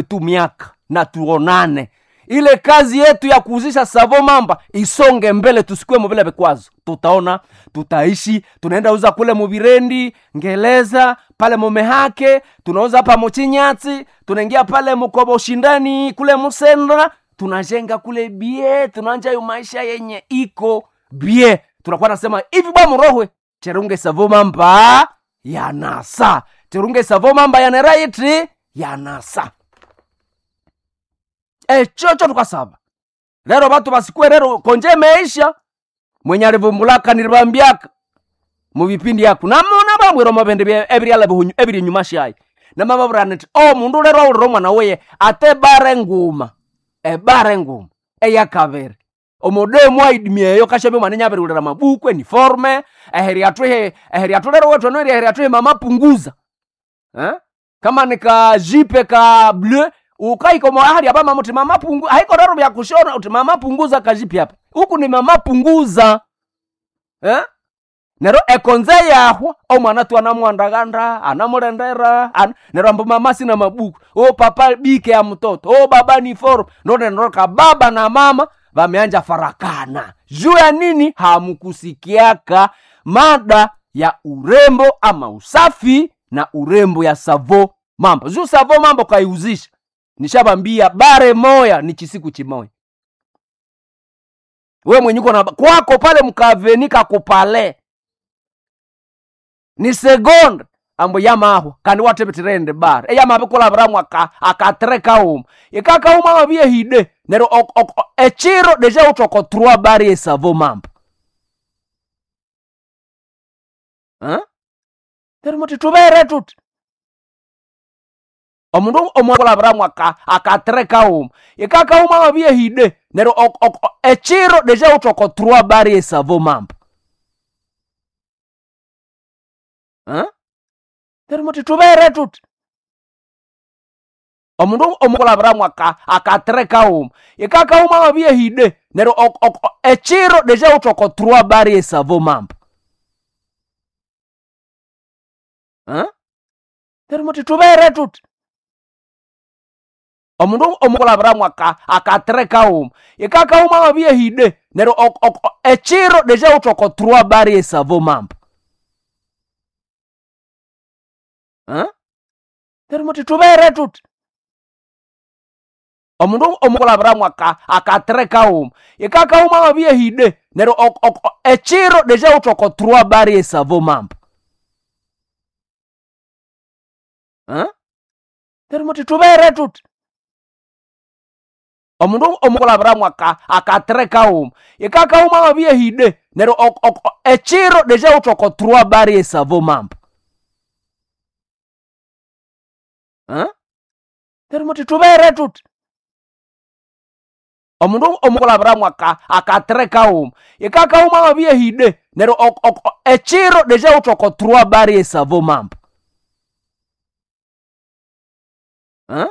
Tu miaka na tuonane, ile kazi yetu ya kuuzisha savo mamba isonge mbele, tusikue muvile vikwazo. Tutaona tutaishi, tunaenda uza kule muvirendi ngeleza pale mumehake, tunauza hapa muchinyatsi, tunaingia pale mukobo ushindani kule musendra, tunajenga kule bie, tunaanja yo maisha yenye iko bie. Tunakuwa nasema hivi bwa murohwe cherunge savo mamba yanasa, cherunge savo mamba yaneraiti yanasa echocho tukasaba lero batu basikue lero konje meisha mwenye alivumbulaka nilibambiaka mubipindi yaku namona bambwira omubindi ebiryala ebiri enyuma shayi namababwira niti o mundu lero awulira omwana weye ate bare nguma ebare nguma eyakabiri omudemu aidimia eyo kashabya omwana nyabiriwulira mabuku eniforme eheri atwihe eheri atulero wethu eno eheri atwihe mama punguza eh? Kama ni ka jipe ka bleu ukaiko ahali aba mama uti mama pungu haiko rero vya kushona uti mama punguza kajipi hapa huku ni mama punguza eh? Nero ekonze yahwa omwana tu anamwandaganda anamulendera an, nero ambu mama sina mabuku o papa bike ya mtoto o baba ni forum ndo nero ka baba na mama vameanja farakana juu ya nini? Hamkusikiaka mada ya urembo ama usafi na urembo ya savo mambo juu savo mambo kaiuzisha nishabambia bare moya ni chisiku chimoya. We mwenye uko na kwako pale mkaveni kakupale ni segonde ambo yamaho kandi watepetirende bare eyamabe kolabiramu akatre kauma ikakauma mabiye hide nero echiro deja utoko trois bare esavo mambo eh? Nero muti tubere tuti omundu omwakolabiramu akatre kauma ikakauma mabiye hide nero echiro deja utoko trois bare esavo mambo eh? Nero muti tubere tuti omundu omwakolabiramu akatre kauma ikakauma mabiye hide nero echiro deja utoko trois bare esavo mambo eh? Nero muti tubere tuti omundu omwakolabiramu akatre kauma ikakauma mabiye hide nero echiro deja utoko trois bare esavo mambo eh? Nero muti tubere tuti omundu omwakolabiramu akatre kauma ikakauma mabiye hide nero echiro deja utoko trois bare esavo mambo eh? Nero muti tubere tuti omundu omwakolabiramu akatre kauma ikakauma mabiye hide nero echiro deja utoko trois bare esavo mambo eh? Nero muti tubere tuti omundu omwakolabiramu akatre kauma ikakauma mabiye hide nero echiro deja utoko trois bare esavo mambo eh?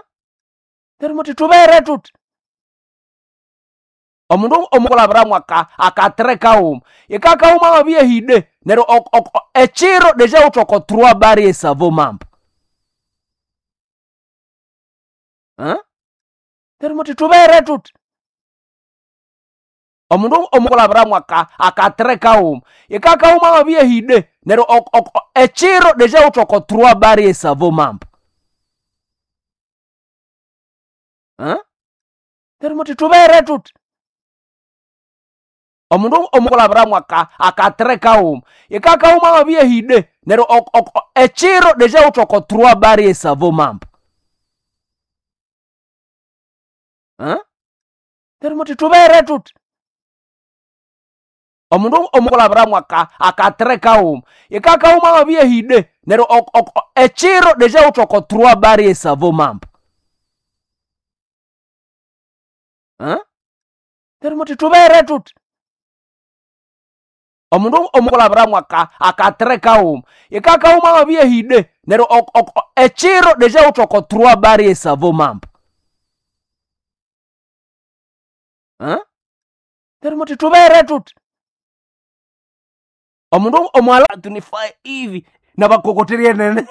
Nero muti tubere tuti omundu omwakolabiramu akatre kauma ikakauma mabiye hide nero echiro deja utoko trois bare esavo mambo eh? Nero muti tubere tuti omundu omwakolabiramu akatre kauma ikakauma mabiye hide nero echiro deja utoko trois bare esavo mambo eh? Nero muti tubere tuti omundu omwakolabiramu akatre kauma ikakauma mabiye hide nero echiro deja utoko trois bare esavo mambo eh? Nero muti tubere tuti omundu omwakolabiramu akatre kauma ikakauma mabiye hide nero echiro deja utoko trois bare esavo mambo eh? Nero muti tubere tuti omundu omwakolabiramu akatre kauma ikakauma mabiye hide nero echiro deja utoko trois bare esavo mambo eh? Nero muti tubere tuti omundu omwala tunifae hivi na bakokoterie nene.